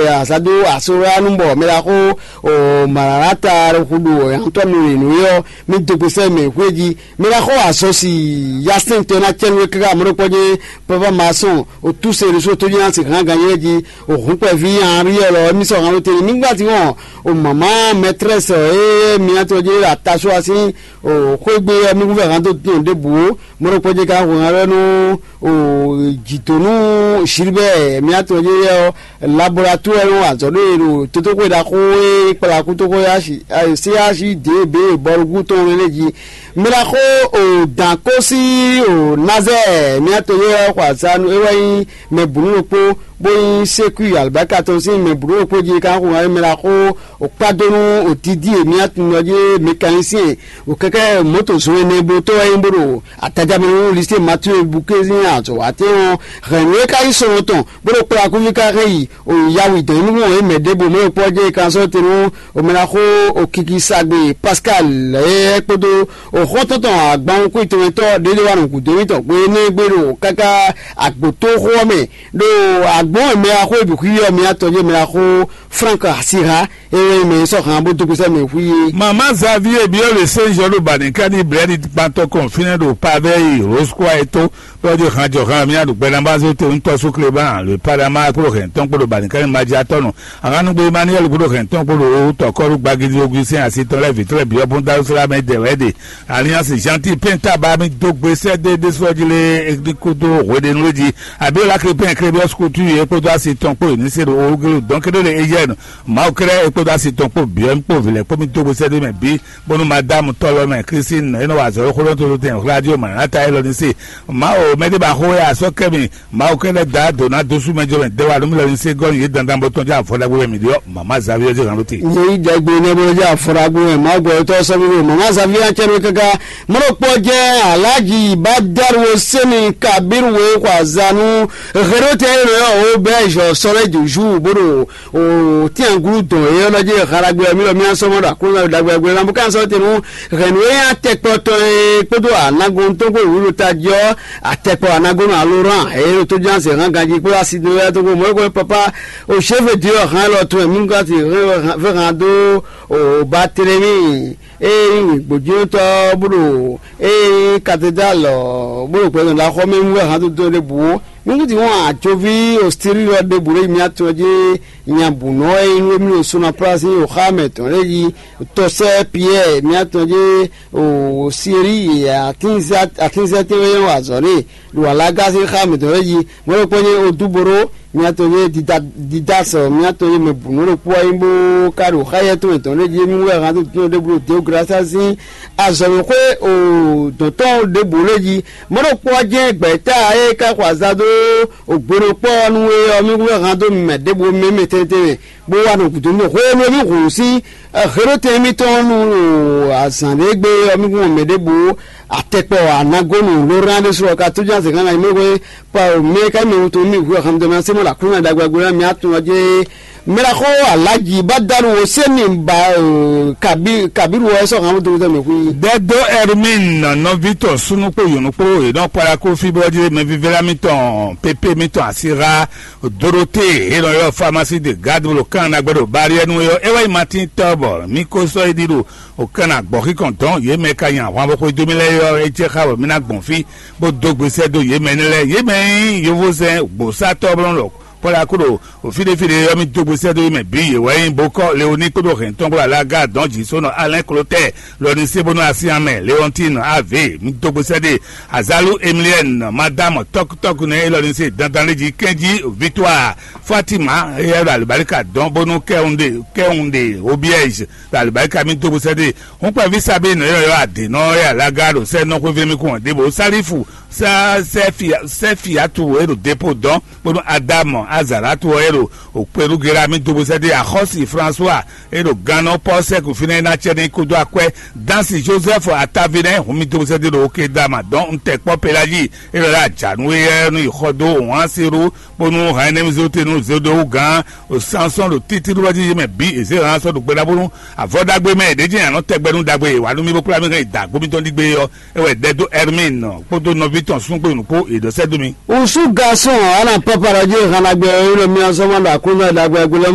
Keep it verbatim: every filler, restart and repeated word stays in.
Azado Asoranu bɔ mɛ ɖaxó o Malalata Hudu Antɔnu Enuyɔ mi dogbe sɛ mɛ hweji mɛ ɖaxó azɔsi Yasin tɔn na cɛnu kaka amrɔ kpɔjɛ papa maçon o tuse reso to jina si han ganye ji o hun kpɛ vi an ri lɔ mi sɔ han te ni mi gba ti wɔn o mama maîtresse e mi atɔ je la taso asi o xwegbe mi hu vɛ han do tɔn de bu o mrɔ kpɔjɛ ka ho han lɔ nu o jitonu Gilbert mi atɔ je yɛ laboratoire nɔ azɔ ɖo e ɖo tótóxwe ɖaxó e kplá kútóxó C H D B bɔlugú tɔn lé jí. Mɛ ɖaxó o dǎn kó sí o Nazɛɛ mía to yɛ xɔ azanu é wɛ nyí mɛ bǔnú ɖokpó bó nyí sékui alibáka tɔn sín mɛ bǔnú ɖokpó jí ká xo ŋa mɛ ɖaxó o kpádónú o Didi e mía tunɔ jí mécanicien o kɛkɛ mɔ̌to zɔn ɛnɛ bó tɔ́ wɛ nyí bó ɖo Atajamɛ nú Lycée Mathieu Bouquet sín azɔ̌watɛ́n ɔ́ hɛn nǔ e ka nyí sɔ́nɔ tɔn bó ɖo kplá kúví ká hɛn yi o yawi dɔn nú ɔ́ mɛ ɖěbǔ mɛ kpɔ́ jɛ kan sɔ́ te nú o mɛ ná xó o kiki sagbe Pascal lɛ́ɛ kpódó o xɔ́ntɔn tɔn agban kú tɔmɛtɔ́ ɖěɖé wá nɔ gǔdo mítɔn gbe énɛ́ gbe ɖo káká agbǒtóxó ɔ́ mɛ ɖo agbǒn e mɛ wá xó e bǐ xwí ɔ́ mɛ atɔn jɛ mɛ wá xó Frank Asiha e wɛ mɛ sɔ́ han bó dó gbèsè mɛ xwí é. Mama Xavier biɔ le Saint Jean ɖo Banikani blɛ́ɖi gbantɔ kɔn fínɛ́ ɖo Pavɛyi Roscoa e tó bɔ jí han jɔ han mía ɖo gbɛɖambazo te ŋutɔ sú Clément le Panama kpó hɛn tɔn kpó ɖo Banikani Majiatɔnu. Ahanugbe Emmanuel kpó hɛn tɔn kpó ɖo tɔkɔlu gbagidi Augustin asi tɔn lɛ vitɔ lɛ biɔ bun Darussalam dɛ wɛ ɖe. Alliance Gentil Penta ba mi dó gbe sɛ dé dé sɔ jí lé ní kúdó hweɖénu lé jí. Abiola Crépin Crébios Couture e kpódó asi tɔn kpó ní se ɖo Orugelu dɔn kéɖé le Ejɛnu. Mawu kɛ́ɖɛ́ e kpódó asi tɔn kpó biɔ kpó vǐ lɛ́ɛ kpó mi dó gbe sɛ dé mɛ bǐ. Bónú Madámu tɔ́lɔ́ mɛ Klísin e nɔ wa azɔ̌ xó ɖɔ tó tɛn radio Maranata élɔ́ ní se. Mawu mɛɖé ba xó ya sɔ́ kɛ mi. Mawu kɛ́ɖɛ́ da dǒ ná dó sú mɛ jɔ mɛ dɛ́ wa nú mì lɔ ní se gɔ́ nyi yě dandan bó tɔn jɛ afɔ ɖagbe wɛ mǐ ɖe ɔ́, mama Xavier jɛ hàn ló te. Nyɛ yi ɖagbe ne bó jɛ afɔ ɖagbe wɛ Mawu gbɔ tɔ sɔmi ɖo mama Xavier cɛ ɖo kaka. Mɔɖo kpɔ jɛ Alhaji Badaru Seni Kabiru we xɔ azanu Herote e nɔ yɔ o bɛ jɔ sɔlɛ joju bó ɖo o tianglu dɔn e ɔlɔ jɛ halagbɛ mi lɔ mi asɔmɔ ɖo aklúnɔ ɖagbe ɖagbe lambo kan sɔ tenu hɛn nu e atɛkpɔ tɔn e kpódó anago tɔn kpó wúlò ta jɔ atɛkpɔ anago nɔ aloran e ɖo tó ján zɛ hàn ganji kpó asi do ya tó kpó mɔ kpó papa o chef de hàn lɔ tɔn mi ka ti fɛ hàn do o Barthélemy e nyí gbojútɔ bó ɖo e nyí cathédrale bó ɖo gbɛdɔn ɖo axɔmɛ wú hàn tó dɔn ɖe bǔ. Nyɔ́ŋúti wọn àjọví òsírí lɔ ɖěbǔ ɖé mía tɔn jí nyabǔnɔ e nyí émí ɖo Sonaprasi nyí òxá mɛ tɔn ɖé yi tɔsɛ́ Piyɛ́ɛ mía tɔn jí o Siri atínzɛ́tɛ́ e nyɔ́ azɔ̌ n'i ɖo alága sín xá mɛ tɔn ɖé yi mɔ̌ ɖokpó nyí Odúboró mía tɔn jí Didasɔ mía tɔn jí mɛ bǔnɔ ɖokpó wá nyí bó ka ɖo xáyɛ́ tɔn mɛ tɔn ɖé jí émí wɛ hán tó tɔn ɖěbǔ ɖo Deograsia sín azɔ̌mɛxwé o dɔ̌ntɔn ɖěbǔ ɖé jí. Mɔ̌ ɖokpó ɔ́ jɛ́n gbɛ̌ta e ka xɔ azǎn dó gbenɔkpɔ́ ɔ́ nú é ɔ́, mì kún hɛn dó mɛ ɖěbǔ mɛ mɛ tɛntɛn mɛ, bó wá nɔ gǔdo nú hwenu e mì hun sín Herode émítɔn nú azǎn ɖé gbe ɔ́, mì kún mɛ ɖěbǔ atɛkpɔ anagonu lóran ɖésú ɔ́ ka tójú azɛ̌ gán na mɛ hwɛ pa mɛ ka mɛ wuntun mì hu hɛn dó mɛ sɛ́ mɔ ɖo Aklúnɔ ɖagbe ná mì atún ɔ́ jɛ mɛ ɖaxó Alaji Badalu Hosɛni ba kabi kabiru ɔ́ sɔ hàn dó mɛ hu. Dɛdó Hermine nɔvi tɔn súnú kpó yǒnú kpó yě nɔ kpɔ́ ɖa kó fí bó jí mɛ vívɛ́ lá mítɔn pépé mítɔn asíxa Dorothée e nɔ ylɔ́ Pharmacie de Garde bó ɖo kán ná gbɛ́ ɖo Bariɛnu é ɔ́, é wɛ nyí Martin Tɔ́bɔ mí ko sɔ́ é ɖi ɖo òkan ná gbɔ̌ xíkɔn dɔn yě mɛ ka nyi ahwan bó xwedó mì lɛ́ɛ é ɔ́, é jɛ xá bɔ mí ná gbɔn fí bó dó gbe sɛ́ dó yě mɛ énɛ́ lɛ́ɛ. Yě mɛ e nyí yovózɛn gbǒsátɔ́ bó nɔ ɖɔ Pɔ́laku ɖo fí ɖé fí ɖé ɔ́, mì dó gbe sɛ́ dó yě mɛ bǐ. Yě wɛ nyí Bokɔ́ Leoni kpódó Hɛntɔn kpódó Alaga dɔn jǐ só nɔ Alɛ́n Klotɛ́ɛ lɔ ní sé bónú Asín mɛ Leɔntín Ave, mì dó gbe sɛ́ ɖe Azalu Emiliɛ́ni, Madámu tɔ́kútɔ́kú nɛ́ élɔ́ ní se dandan lé jí kɛ́njí Victoire Fatima éyɛ́ ɖo alǐbáríkà dɔn bónú kɛ́hún ɖe kɛ́hún ɖe Obiɛ́zi ɖo alǐbáríkà mì dó gbe sɛ́ ɖe. Hún kpɛví Sabine élɔ́ ylɔ́ adě nɔ é Alaga ɖo sɛ́ nɔ xwéví mì kún ɔ́ ɖěbǔ Salifu sɛ́ sɛ́ fia sɛ́ fiatu e ɖo depo dɔn kpódó Adamu Azalatu ɔ́ e ɖo òkpɛɖúgera mì dó gbe sɛ́ ɖe Axɔ́si François e ɖo gannɔ Pɔ́sɛ́ku fínɛ́ ná cɛ ní kúdó akwɛ́. Dansi Joseph Atavinɛ hun mì dó gbe sɛ́ ɖe ɖo Okedama dɔn un tɛ kpɔ́ Pelaji e ɖɔ ɖo ajǎnú éyɛ́ nú yi xɔ dó Ohanseru kpónú Hainɛmizotenu Zodowu gán o Sansɔn ɖo títíɖúwɛ́ jí mɛ bǐ è zě hǎn sɔ́ ɖo gbe ɖa bónú avɔ ɖagbe mɛ è ɖě jɛ anɔ tɛgbɛ nú ɖagbe e wǎ nú mì bó kplá mì hɛn yi da agbó mítɔn ɖígbe ɔ́, é wɛ ɖɛ dó Ɛrmín kpódó nɔví tɔn súngbó nǔkpó è ɖɔ sɛ́ dó mì. Usu garçon ana papa ɖɔ jí hana gbɛ ɔ́ nɔ mia zɔ́n ma ɖo aklúnɔ ɖagbe agbélé